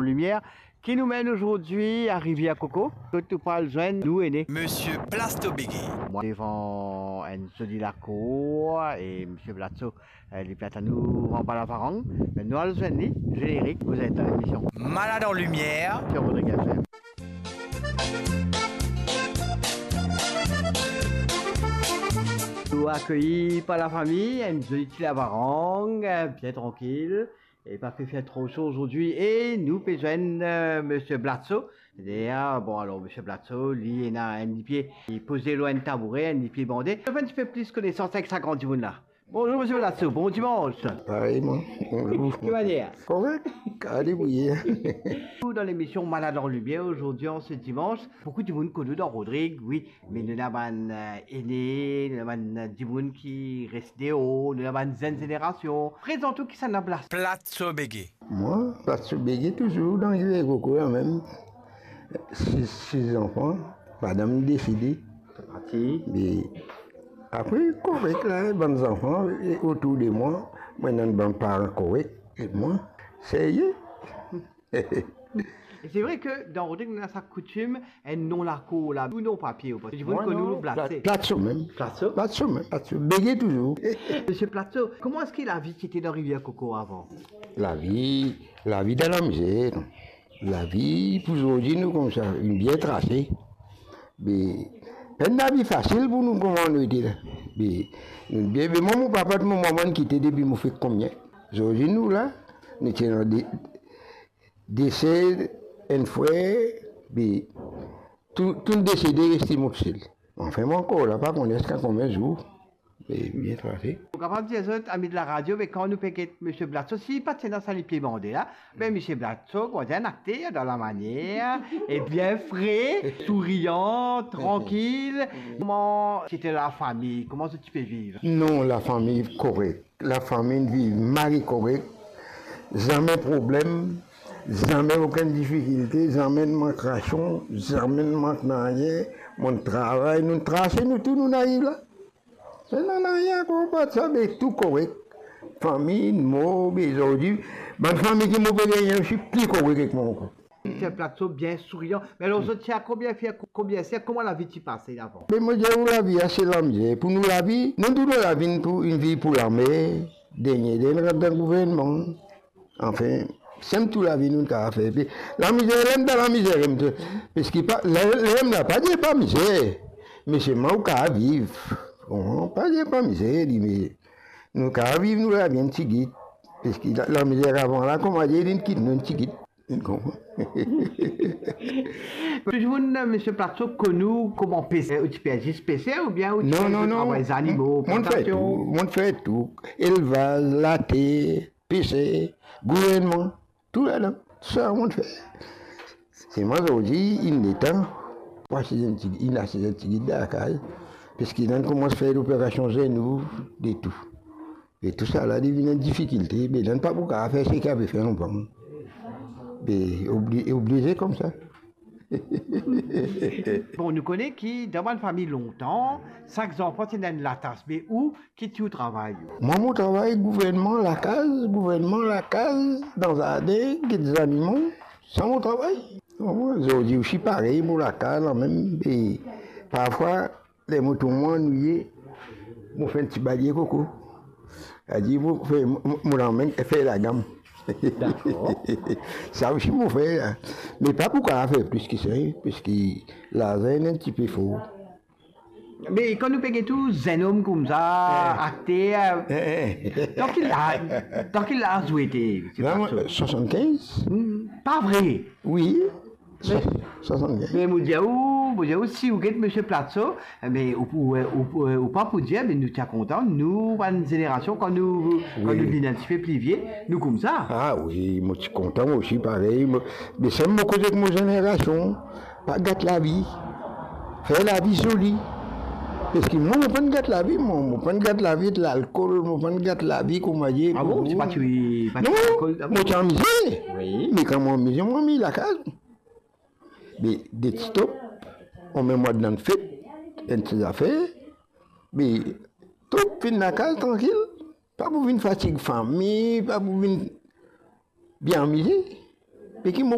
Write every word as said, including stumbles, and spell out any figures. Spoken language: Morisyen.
Limier, ki nou menn azordi a Rivier Koko, kot nou pou al zwenn nou ene. Misie Platso Bege. Mwa devan enn zoli lakour, e Misie Platso, eh, li plat anou anba lavarang. Me nou al zwenn li, zenerik, vous êtes dans l'émission Malade en Lumière sur Rodriguez F M. Nou akeyir par lafami, enn zoli ti lavarang, bien trankil, e pa pe fer tro so azordi, e nou pe zwenn, eh, Misie Platso. Dayer, bon, alor, Misie Platso, li ena enn lipie, li poze lor enn taboure, enn lipie bande. Nou fer enn tipe plis konesans avek sa gran dimoun la. Bonzour, Misie Platso, bon dimans. Parey, mwa. Bonzour. Ki manier? Korek, ale, wi. Nou dan lemision Malade en Lumière, azordi, an se dimans, boukou dimoun konn ou dan Rodrig, wi, me nou ena bann, eh, ene, nou ena bann, eh, dimoun ki res deor, nou ena bann zenn zenerasion. Prezant ou, kisannla Pla-, Platso Bege? Mwa, Platso Bege, touzour dan Rivier Koko lamem. Sis, sis zanfan, madam desede. Parti. Me apre, korek la, bann zanfan, e, otour de mwa, mwa ena bann paran korek, e mwa, serye. E se vre ke dan Rodrig nou ena sa koutim, enn non lakour la, ou non papie, ou pa, dimoun konn ou Pla-, Platso. Platso mem. Platso? Platso mem, Platso. Bege touzour. Misie Platso, kouma eski lavi ti ete dan Rivier Koko avan? Lavi, lavi dan lamizer. Lavi pou zordi nou koumsa, inn bien trase. Be, pa enn lavi fasil pou nou kouma nou ete la. Be, nou bien, be mwa, mo papa, mo mama inn kite depi mo fer konbien. Zordi nou la, nou ti ena de, de ser, enn frer, be, tou, tou desede, reste mo tousel. Anfin, mo ankor la, pa kone ziska konbien zour. Be, bien trase. Ou kapav dir zot, ami de laradio, me kan nou pe get Misie Platso, si li pa ti ena sa lipie bande la, be Misie Platso, kouma dir, enn akter dan lamanier, e bien fre, sourian, trankil. Kouma ti ete lafami, kouma zot ti pe viv? Non, lafami korek. Lafami viv mari korek, zame problem, zame okenn difikilte, zame mank rasion, zame mank nanye, bann travay, nou trase, nou tou, nou ariv la. Sa nanye ankor, apa sa, be tou korek. Fami, mo, be zordi, bann fami ki mo pe gagne osi pli korek ek mwa ankor. Misie Platso bien sourian. Me alor, zot ti a konbien frer, konbien ser, kouma lavi ti pase avan? Me mo dir ou, lavi a se lamizer. Pou nou lavi, nou tou nou lavi, nou pou, inn viv pou lamer, dernie, dernie, rant dan gouvernman. Anfin, sem tou lavi nou kapav fer. Pi lamizer, lem dan lamizer, lem tou. Parski pa, le, lem la, pa dir pa mizer, me selman ou kapav viv. Bon, pa dir pa mizer, li, me nou kapav viv nou lavi enn tigit. Parski la, lamizer avan la, kouma dir, linn kit nou enn tigit. Ou konpran? Tou dimoun, Misie Platso, konn ou kouma peser, ou ti pe zis peser oubien ou ti... Non, non, non. Travay zanimo, plantasion? Mo, mo'nn fer tou, mo'nn fer tou. Elvaz, later, peser, gouvernman, tou ladan. Tou sa mo'nn fer. Selman zordi, inn letan pou asiz enn ti, inn asiz enn tigit dan lakaz, parski nou koumans fer loperasion zenou, de tou. E tousala li vinn enn difikilte, be nou pa pou kapav fer seki ape fer lontan. Be obli-, oblize koumsa. Bon, nou kone ki dan bann fami lontan, sak zanfan ti ena enn latas, me ou, ki ti ou travay ou? Mwa, mo travay gouvernman lakaz, gouvernman lakaz, dan zardin, get zanimo, sa mo travay. Bon, zordi osi parey, mo lakaz lamem, e parfwa, ler mo trouv mwa anwiye, mo fer enn ti balie koko. Savedir mo fer, mo, mo, mo amenn fer lagam. Dakor. Sa osi mo fer la. Me pa pou kapav fer plis ki sa, parski larzan inn enn tipe for. Me kan nou pe get ou, zennom koumsa, eh, akter, eh, eh, dan ki la-, dan ki laz ou ete, se... La, pa mwa, so. Swasannkinz. Hmm, pa vre? Wi. Me, swasann-, swasann-kinz. Me mo dir ou, mo dir ou, si ou get Misie Platso, me ou, ou, ou, ou pa pou dir, me nou ti a kontan, nou, bann zenerasion, kan nou, kan nou vinn enn tipe pli vie, nou koumsa. Ah wi, mo ti kontan, mo osi parey, mo, me sa mo koz ek mo zenerasion, pa gat lavi, fer lavi zoli. Parski mwa, mo pa'nn gat lavi, mwa, mo pa'nn gat lavi ek lalkol, mo pa'nn gat lavi kouma dir. Ah bon, ti pa ti, pa ti lalkol? Non, mo ti amize. Wi. Me kan mo amize, mo amiz lakaz. Be, de ti top, anmem mwa dan fet, enn ti zafer, be, top, vinn lakaz, trankil, pa pou vinn fatig fami, pa pou vinn bien amize. Be ki mo